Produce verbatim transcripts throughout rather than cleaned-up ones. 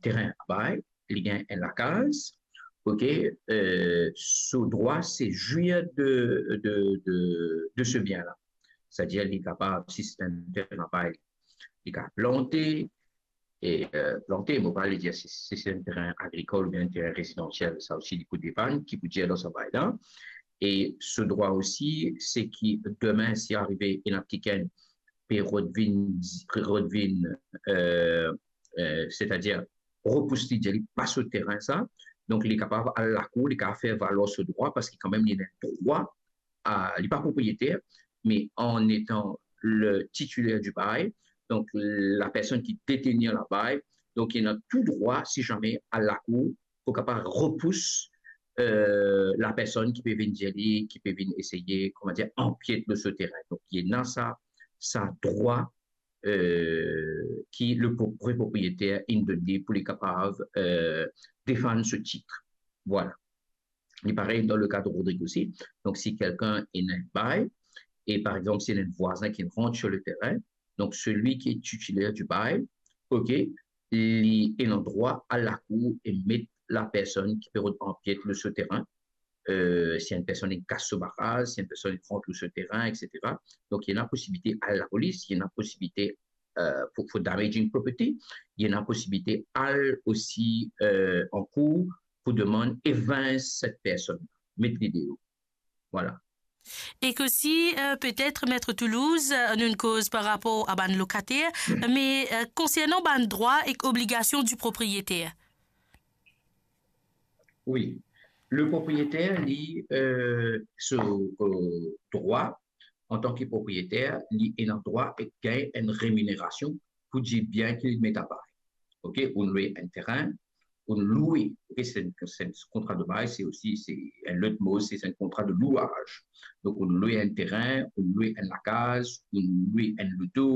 terin a bay, li gagn enn lakaz, ok, euh, so drwa se zwir de, de, de, de se bien la. Setadir, li kapav, si se enn terin a bay, li kapav plante, e, euh, plante, mo pa le dir si, si se enn terin agrikol oubien enn terin rezidansiel, sa osi li pou depann ki pou dir dan sa bay la. E so drwa osi, se ki demin, si arive ena kikenn pe rod vinn, rod vinn, euh, euh, setadir repous li, dir li pa so terin sa, donk li kapav al lakour, li kapav fer valwar so drwa, parski kanmem li ena drwa, a, li pa propriyeter, me an etan le titiler di bay, donk la personn ki detenir la bay, donk li ena tou drwa, si zame, al lakour pou kapav repous, euh, la personn ki pe vinn dir li, ki pe vinn eseye, kouma dir, anpiet lor so terin. Donk, li ena sa, sa drwa, euh, ki le pro-, vre propriyeter inn donn li pou li kapav, euh, defann so tit. Vwala. Li parey dan le ka de Rodrig osi. Donk, si kelkenn ena enn bay, e par exanp, si ena enn vwazin ki rant sur le terrain, donk, celui qui est titulaire du bail, ok, li ena drwa al lakour e met la personn ki pe rod anpiet lor so terin, euh, si enn personn inn kas so baraz, si enn personn inn rant lor so terin, et cetera. Donk, li ena posibilite al lapolis, li ena posibilite, euh, for, for damaging property, li ena posibilite al osi, euh, an kour pou demann evins set personn, met li deor. Vwala. Ek osi, euh, petet, Met Toulouse, euh, nou'nn koz par rapor a bann lokater, me, euh, konsernan bann drwa ek obligasion di propriyeter. Wi. Le propriyeter, li, euh, so, euh, drwa, antan ki propriyeter, li ena drwa e gagn enn reminerasion pou dibien ki li met a bay. Ok, ou'nn lwe enn terin, ou'nn lwe, ok, se enn, se enn kontra de bay, se osi, se enn lot mo, se, se enn kontra de lwaz. Donk, ou'nn lwe enn terin, ou'nn lwe enn lakaz, ou'nn lwe enn loto,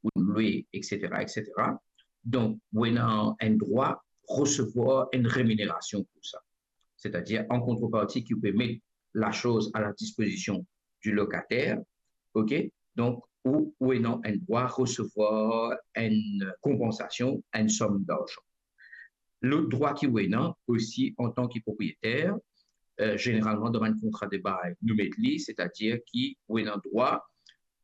ou'nn lwe, et cetera, et cetera. Donk, ou ena enn drwa resevwar enn reminerasion pou sa. Setadir, an kontreparti ki ou pe met lasoz a la dispozision di lokater, ok? Donk, ou, ou ena enn drwa resevwar enn konpansasion, enn som darzan. Lot drwa ki ou ena osi antan ki propriyeter, euh, zeneralman dan bann kontra de bay, nou met li, setadir ki ou ena drwa,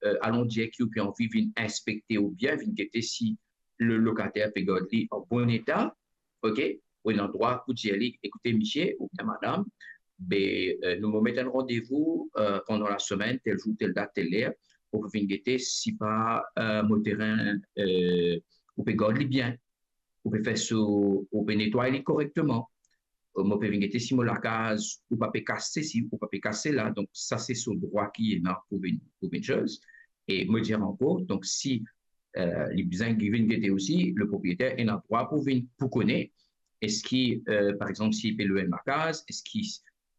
euh, alon dir ki ou pe anvi vinn inspekte oubien vinn gete si le lokater pe gard li an bon eta, ok? Ou ena drwa pou dir li, "Ekoute, misie oubien madam, be, euh, nou mo met enn randevou, euh, pandan lasemenn, tel zour, tel dat, tel ler, pou vinn gete si pa, euh, mo terin, euh, ou pe gard li bien, ou pe fer so, ou pe netway li korekteman. Euh, mo pe vinn gete si mo lakaz, ou pa pe kas sesi, ou pa pe kas sela." Donk, sa se so drwa ki ena pou vinn, pou vinn soz. E mo dir ankor, donk, si, euh, li bizin vinn gete osi, le propriyeter ena drwa pou vinn, pou kone, eski, euh, par exanp, si li pe lwe enn lakaz, eski,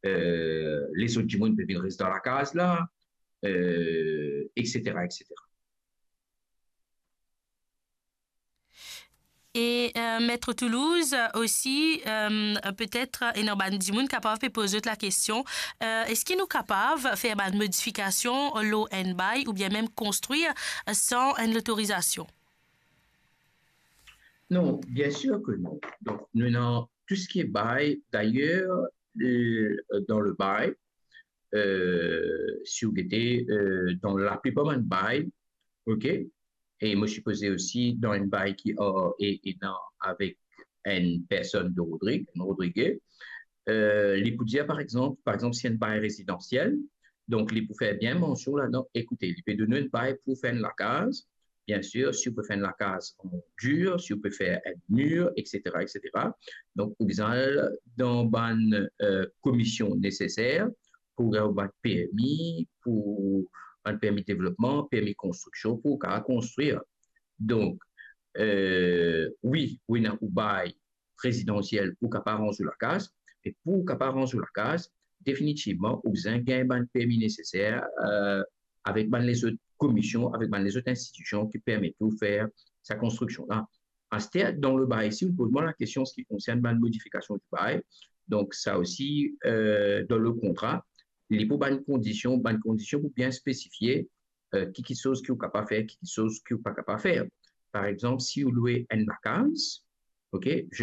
euh, lezot dimoun pe vinn res dan lakaz la, euh, et cetera, et cetera. E, euh, Met Toulouse, euh, osi, euh, petet, euh, ena bann dimoun kapav pe poz zot lakestion, euh, eski nou kapav fer bann modifikasion lor enn bay oubien mem konstrir, euh, san enn lotorizasion? Non, bien sûr que non. Donk, nou ena tou seki bay, dayer, euh, dan le bay, euh, si ou gete, euh, dan laplipar bann bay, ok, e mo sipoze osi dan enn bay ki, euh, e, ena avek enn personn de Rodrig, enn Rodrige, euh, li pou dir, par exanp, par exanp, si enn bay rezidansiel, donk li pou fer bien mansion ladan, ekoute, li pe donn ou enn bay pou fer enn lakaz, bien sûr, si ou pe fer enn lakaz an dir, si ou pe fer enn mir, et cetera, et cetera. Donk, ou bizin al dan bann, euh, komision neseser pou gagn bann permi, pou bann permi devlopman, permi konstriksion, pou ou kapav konstrir. Donk, euh, wi, ou ena ou bay rezidansiel, ou kapav ranz ou lakaz, e pou ou kapav ranz ou lakaz, definitivman, ou bizin gagn bann permi neseser, euh, avek bann lezot komision, avek bann lezot institision ki permet ou fer sa konstriksion la. Aster, dan le bay, si ou poz mwa lakestion an se ki konsern bann modifikasion di bay, donk sa osi, euh, dan le kontra, li pou bann kondision, bann kondision pou bien spesifie, euh, ki kiksoz ki ou kapav fer, ki kiksoz ki ou pa kapav fer. Par exanp, si ou lwe enn lakaz, ok,